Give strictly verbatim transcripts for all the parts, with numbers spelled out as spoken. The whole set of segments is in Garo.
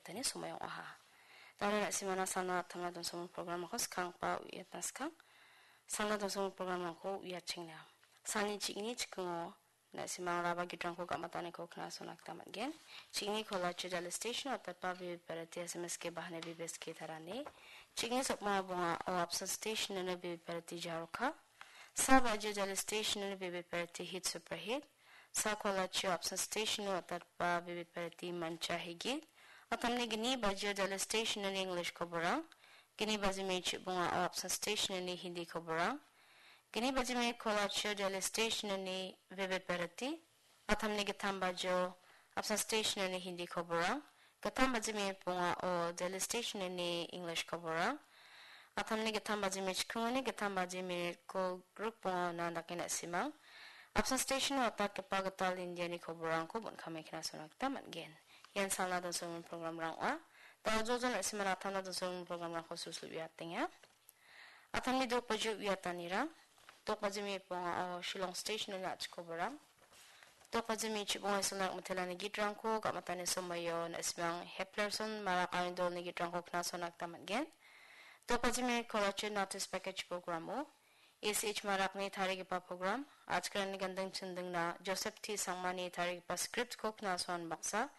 tani somoi ong·aha. Dare na·simana salna attamna donsongming programrangko skanggipa uiatna skang. Salna donsongming programrangko uiatchengna. Salni ching·ini chikingo na·simang raba gitrangko gam·ataniko knasona gita man·gen. Ching·ini kolachi Delhi station-o atapa Vivid Bharati S M S K bahane Vivid S K tarani. Ching·ini sokma bonga o Apsan station-oni Vivid Bharati Jaroka. Sa bajio Delhi station-oni Vivid Bharati Hit Super Hit. Sa kolachio Apsan station-o atapa Vivid Bharati Mancha Higit. Atamni gni bajio Delhi station-oni English koborang. Gni bajimi chibonga o Apsan station-oni Hindi koborang. Gni bajimi kolachio Delhi station-oni Vivid Bharati. Atamni gittam bajio Apsan station-oni Hindi koborang. Gittam bajimi bongao Delhi station-oni English koborang. Atamni gittam bajimi chikingoni gittam bajimi gol gruk bongaona dake na·simang. Apsan station-o atatgipa gital Indiani koborangko bon·kame knasona gita man·gen. Ian salna donsongming programrang ong·a. Da·o jojo na·simana atamna donsongming programrangko sulsul uiatenga. Atamni dok bajio uiatanirang. Dok bajimi bongao Shillong station-oni a·chikoborang. Dok bajimi chibonga isolna mitelani gitrangko gam·atani somoio na·simang Heplerson Marak Arindolni gitrangko knasona gita man·gen. Dok bajimi kolachi Notice Package programo A C H Marakni tarigipa program, Achkarani Ganding Chindingna Joseph T Sangmani tarigipa script-ko knasoan baksa,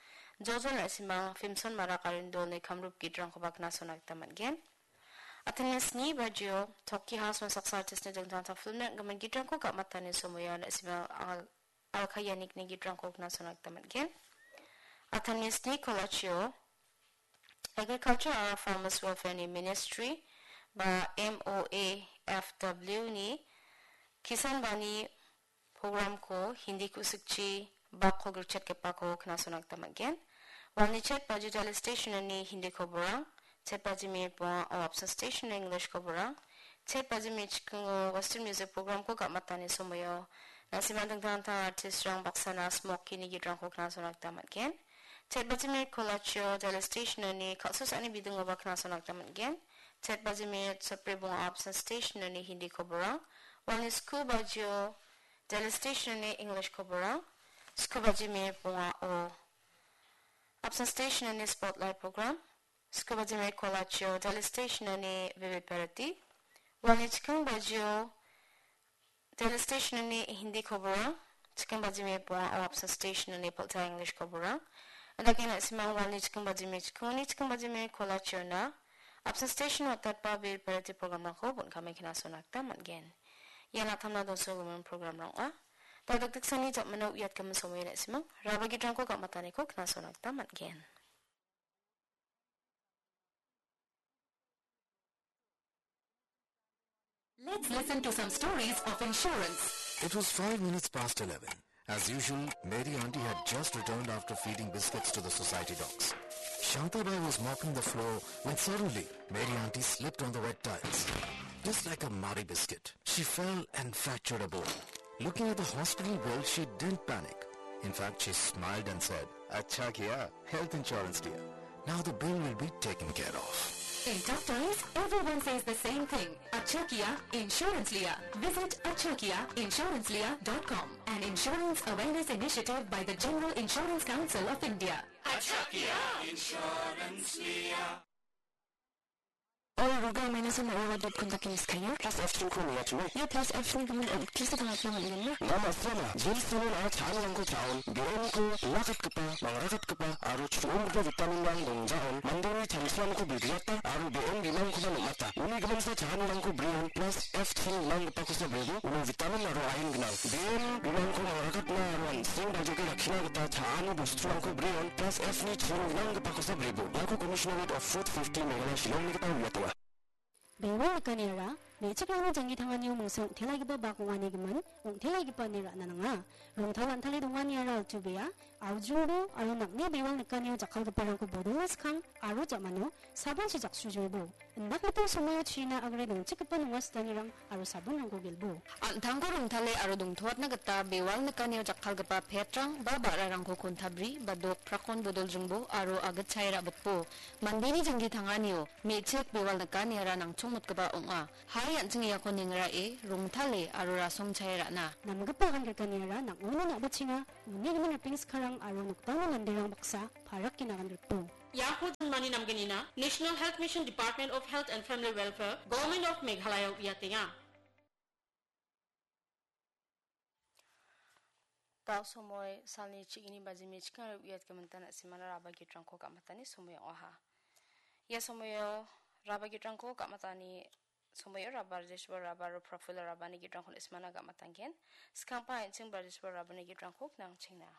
jojo na·simang Filmson Marak Arindolni kamrup gitrangkoba knasona gita man·gen. Atamni sni bajio Toki Haswan saksa artist-ni dingtang dingtang film-ni gimin gitrangko gam·atani somoio na·simang Al-, Alka Yanikni gitrangko knasona gita man·gen. Atamni sni kolachio Agriculture aro Farmers Welfare-ni Ministry ba M O A F W-ni Kisan Bani programko Hindi ku·sikchi bakko girchetgipako knasona gita man·gen. Walni chet bajio Delhi station-oni Hindi koborang, chet bajimi bongao Apsan station-oni English koborang, chet bajimi chikingo Western music programko gam·atani somoio na·simang dingtang dingtang artist-rang baksana Smoky-ni gitrangko knasona gita man·gen. Chet bajimi kolachio Delhi station-oni kal·susani bidingoba knasona gita man·gen. Chet bajimi sotbri bongao Apsan station-oni Hindi koborang, walni sku bajio Delhi station-oni English koborang, sku bajimi bongao Apsan station-oni Spotlight program, sku bajimi kolachio Delhi station-oni Vivid Bharati, walni chiking bajio Delhi station-oni Hindi koborang, chiking bajimi bongao Apsan station-oni Polta English koborang, indake na·simang walni chiking bajimi chikingoni chiking bajimi kolachiona Apsan station-o atatba Vivid Bharati programrangko bon·kame knasona gita man·gen. Ian atamna donsonggimin programrang ong·a. Da·o dakdeksani jamano uiatgimin somoio na·simang raba gitrangko gam·ataniko knasona gita man·gen. Let's listen to some stories of insurance. It was five minutes past eleven. As usual, Mary Auntie had just returned after feeding biscuits to the society dogs. Shantabai was mopping the floor when suddenly Mary Auntie slipped on the wet tiles. Just like a Marie biscuit, she fell and fractured a bone. Looking at the hospital bill, she didn't panic. In fact, she smiled and said, "Acha kiya, health insurance liya." Now the bill will be taken care of. In tough times, everyone says the same thing. Acha kiya, insurance liya. Visit acha kiya insurance liya dot com, an insurance awareness initiative by the General Insurance Council of India. Acha kiya insurance liya. Oi, ruga maina sama ora dot kun takin skayo. Plus F three ko mia chuma. Ia plus F three gimin on, kisa tangapna man·enna. Nama sama, jeans tanon aro cha·anirangko cha·on, B M ko lakatgipa, mangrakatgipa, aro chubonggipa vitaminrang dongjaon, mandeni chamsramko bilgilata, aro B M bimangkoba nom·ata. Uni giminsa cha·anirangko brion, plus F three bimanggipakosa brebo, uno vitamin aro iron gnang. B M bimangko mangrakatna aro an·seng baljoke rakkina gita cha·ani bosturangko brion, plus F ni chiring gnanggipakosa brebo. Iako Commissionerate of Food Safety Meghalaya Shillongni gita uiatenga. Bewal nikaniara, me·chikrangni janggi tanganio mingsa ong·telaigipa bak ong·ani gimin, ong·telaigipani ra·na nanga. Rongtal an·tale donganiara altu bea, aujingbo aro nang·ni bewal nikanio jakkalgiparangko bodonga skang aro ja·mano sabonchi jaksujolbo. Indakgipa somoio china agre dongchikgipa nonga sitanirang aro sabonrangko gelbo. An·tangko rongtale aro dongtoatna gita bewal nikanio jakkalgipa petrang ba ba·rarangko kontabri ba dok prakon bodoljingbo aro agitchae ra·bitbo. Mandeni janggi tanganio me·chik bewal nikaniara nangchongmotgipa ong·a. Hai an·ching iako nengrae, rongtale aro rasongchae ra·na. Namgipa agan grikaniara nang·ono na·bachenga, uni gimin ripeng skarang aro nokdangni manderang baksa parakgina agan grikbo. Iako jinmani namgnina National Health Mission, Department of Health and Family Welfare, Government of Meghalaya uiatenga. Dao somoi salni chigini bajimi chikangre uiatgimin tan na·simana raba gitrangko gamatani somoi ong·aha. Ia somoio raba gitrangko gamatani somoio raba rejesiba raba aro profilo rabani gitrangko na·simana gamatanggen. Skangpa an·ching ba rejesiba rabani gitrangko nangchingna.